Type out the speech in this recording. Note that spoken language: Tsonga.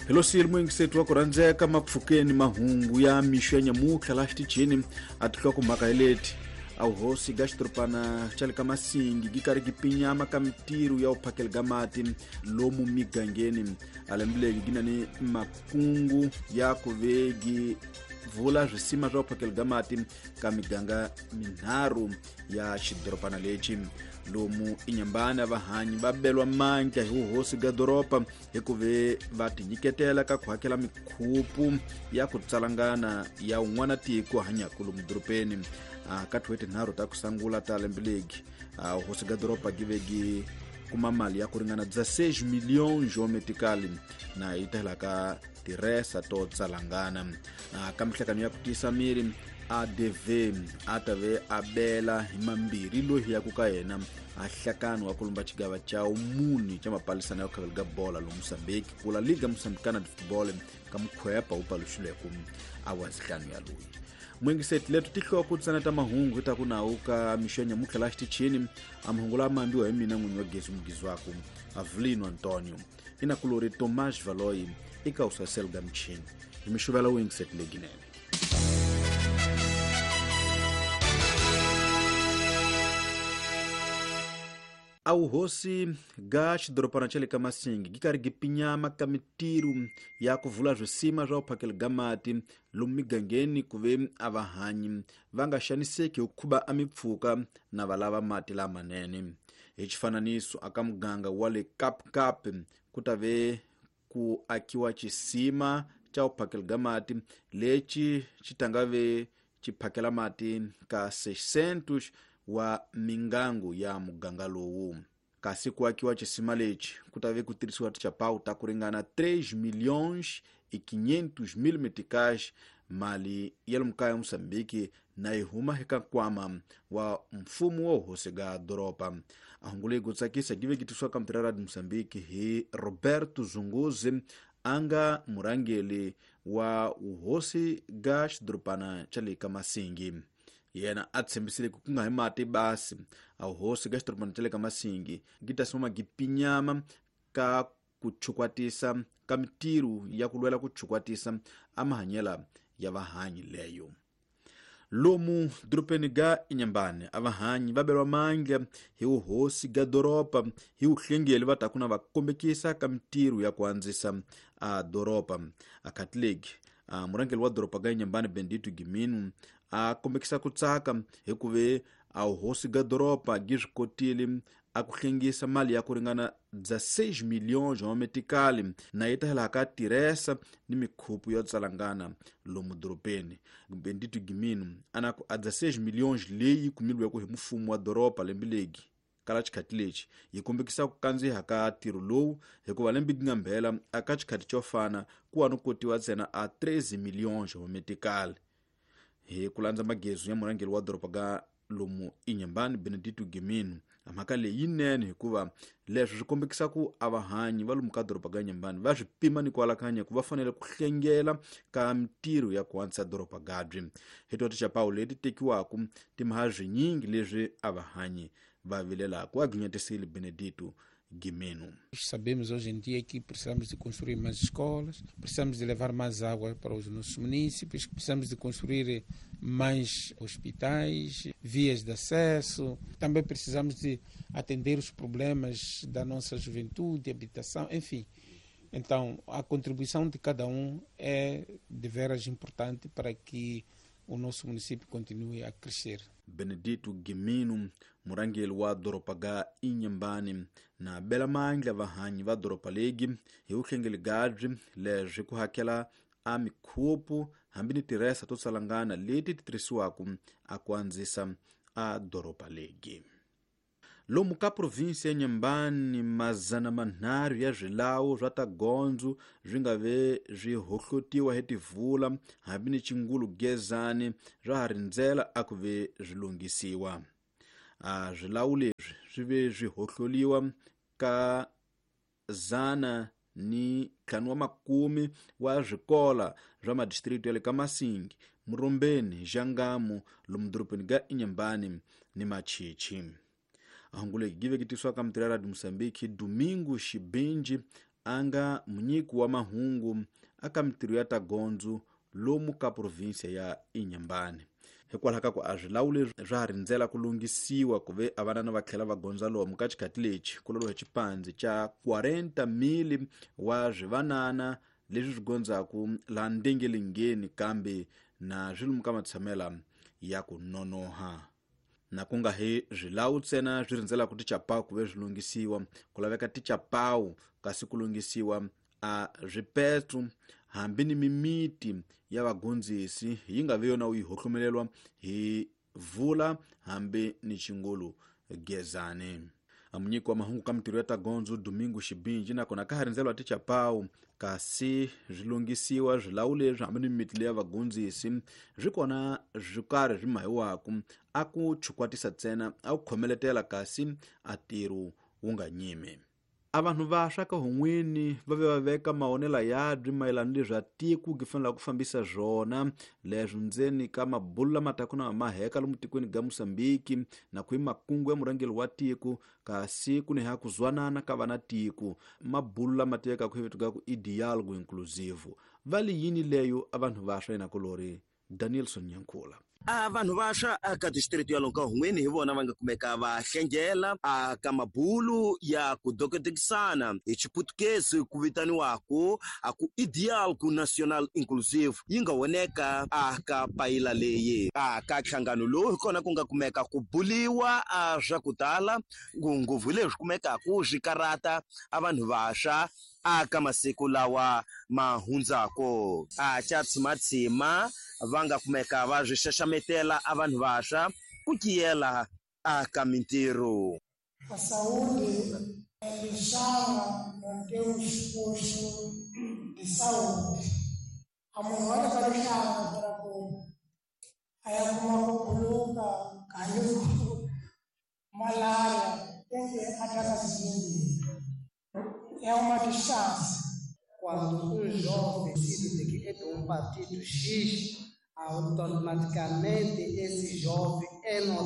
Hi lo siyile muyingiseti wa ku rhandzeka mapfukeni mahungu ya mixo ya nyamutlha laha xitichini a tinhlokomhaka hi leti. A vuhosi ga xidorobana xa le ka Masingi gi karhi gi pinyama ka mitirho ya vuphakeli ga mati lomu migangeni. A lembe legi gi na ni makungu ya ku ve gi vula swisima swa vuphakeli ga mati ka miganga minharhu ya xidorobana lexi. Lomu Inyambani a vahanyi va belwa mandla hi vuhosi ga doroba hi ku ve va tinyiketela ka ku hakela mikhupu ya ku tsalangana ya un'wana tiko hanyaka lomu dorobeni. Ka tin'hweti tinharhu ta ku sangula ta lembe legi, hosi ga doroba gi ve gi kuma mali ya ku ringana 16 milhões metikali na yi tahela ka tiresa to tsalangana. Ka mihlakano ya ku tiyisa miri, ADV a ta ve a bela hi mambirhi loyi ya ku ka yena a hlakano wa ku lumba xigava xa muni xa mapalisana ya ku khavela ga bola lomu Mozambique kula Liga Moçambicana de Futebol ka mukhwepa wu paluxileke a wa nhlanu ya loyi. Muyingiseti leto tihloko ntsena ta mahungu hi ta ku nawu ka mixo ya nyamutlha laha xitichini. A mahungu lama ambiwa hi mina n'winyi wa gezi mugizi waku Avelino Antonio, inakulori Tomas Valoyi eka usasel ga michini hi mixuvela wuyingiseti leginene. A vuhosi ga xidorobana xa le ka Masingi gi karhi gi pinyama ka mitirho ya ku vula swisima swa vuphakeli ga mati lomu migangeni ku ve a vahanyi va nga xaniseki hi khuba a mipfhuka na va lava mati lamanene. Hi xifananiso, aka muganga wa le Kapkap ku ta ve ku akiwa xisima xa vuphakeli ga mati lexi xi ta nga ve xi phakela mati ka 600 wa mingangu ya muganga lowu. Kasi ku akiwa xisima lexi ku ta ve ku tirhisiwa tichapawu ta ku ringana 3 milhões e 500 mil meticais, mali ya lomu kaya Mozambique na yi huma eka nkwama wa mfumo wa hosi ga doroba. A hungu leyi ku tsakisa gi ve gi tisiwa ka mutirha Radio Mozambique hi Roberto Zunguzi, a nga murhangeri wa vuhosi ga xidorobana xa le ka Masingi. Yena a tshembisile ku nga hi mati basi, a vuhosi ga xidorobana xa le ka Masingi gi ta sima gi pinyama ka ku chukwatisa ka mitirho ya ku lwela ku chukwatisa a mahanyela ya vahanyi leyo. Lomu dorobeni ga Inyambani a vahanyi va belwa mandla hi vuhosi ga doroba hi vuhlengeli va taku na va kombekisa ka mitirho ya ku andzisa a doroba. A Catholic, a murhangeri wa doroba ga Inyambani Bendito Giminu a kombekisa ku tsaka hi ku ve a vuhosi ga doroba gi swi kotile a ku hlengisa mali ya ku ringana 16 milhões wa metikali na yi ta hela ka tiresa ni mikhupu yo tsalangana lomu dorobeni. Bendito Giminu ana ku a 16 milhões leyi kumilweke hi mfumo wa doroba lembe legi kala xikhati lexi yi kombekisa ku kandziha ka ntirho lowu, hikuva lembe gi nga mbhela aka xikhati xo fana ku wa no kotiwa ntsena a 13 milhões wa metikali. Hi ku landza magezu ya murhangeri wa doroba ga lomu Inyambani Benedito Giminu, a mhaka leyi yinene hikuva leswi swi kombekisa ku a vahanyi va lomu ka doroba ga Inyambani va swi pima ni ku alakanya ku va fanele ku hlengela ka mitirho ya ku antswisa doroba gabyi. Hi to tichapawu leti tekiwaka timha swinyingi leswi a vahanyi va vilelaka, a ginyetisile Benedito Gimeno. Sabemos hoje em dia que precisamos de construir mais escolas, precisamos de levar mais água para os nossos municípios, precisamos de construir mais hospitais, vias de acesso, também precisamos de atender os problemas da nossa juventude, habitação, enfim. Então, a contribuição de cada um é de veras importante para que o nosso município continue a crescer. Benedito Gimino, murhangeri wa doroba ga Inyambani, na bela mandla vahanyi va doroba legi hi vuhlengeli gabyi leswi ku hakela a mikhupu hambi ni tiresa to tsalangana leti ti tirhisiwaka a ku andzisa a doroba legi. Lomu ka provinsi ya Nyambani, 300 ya swilawu swa ta gondzo swi nga ve swi hohlotiwa hi tivula hambi ni chingulu gezani swa ha rindzela a ku ve swi lunghisiwa. A swilawu leswi swi ve swi hohloliwa ka 150 wa swikola swa madistrikiti ya le ka Masingi, Murombeni, Xangamu, lomu dorobeni ga Inyambani ni Machichi. Ahungu leyi gi veketisiwa ka mutirhi ya Radio Mozambique Domingo Xibinji, a nga munyiki wa mahungu aka mitirho ya ta gondzo lomu ka provinsia ya Inhambane. Hikwalaho ka ku a swilawu leswi swa ha rindzela ku lunghisiwa ku ve a vanana va tlhela va gondza lomu ka xikhati lexi ku lolohe xipandzi xa 40,000 wa swivanana leswi swi gondzaku laha ndengelengeni kambe na swi lomu ka matshamela ya ku nonoha. Na ku nga hi swilawu ntsena swi rindzelaka tichapawu ku ve swi lunghisiwa, ku laveka tichapawu kasi ku lunghisiwa a swipetlu hambi ni mimiti ya vagondzisi yi nga vi yona u yi hohlomelelwa hi vula hambi ni xingulu gezani. Munyiki wa mahungu ka mitirho ya ta gondzo Domingo Xibinji nakona ka ha rindzelwa tichapawu kasi swi lunghisiwa swilawu leswi hambi ni mimiti leya vagondzisi swi kona swi karhi swi mahiwaku a ku chukwatisa ntsena a ku khomeletela kasi a ntirho wu nga nyimi. A vanhu vaswa ka hun'wini va ve va veka mahonela yabyi mayelana ni leswi a tiko gi fanelaka ku fambisa swona leswi ndzeni ka mabulu lama taka na maheka lomu tikweni ga Mosambiki na ku hi makungu ya murhangeri wa tiko kasi ku ni ha ku zwanana ka vana tiko mabulu lama tivekaka hi vito ga ku i dialogue inclusive. Va li yini leyo a vanhu vaswa yena kulori Danielson Nyankula. A vanhu vaswa aka district ya Lonka Hun'wini hi vona va nga kumeka va hlengela aka mabulu ya ku dokodekisana hi Xiputukezi ku vitaniwaku a ku i dialogue national inclusive yi nga voneka aka payila leyi. Aka nhlangano lowu hi kona ku nga kumeka ku buliwa a swa ku tala ngopfu leswi kumekaku swi karata a vanhu vaswa aka masiku lawa ma hundzako. A xa tshimatshima va nga kumeka va swi xaxametela a vanhu vaswa ku kiyela aka mintirho. A saúde é lixava não temos posto de saúde. A munhu wa le ka rihlanga para ku a ya kuma ku buluka kaluku malaria tem que atacar zimbiri. É uma distância. Quando um jovem decide que é de um partido X, automaticamente esse jovem é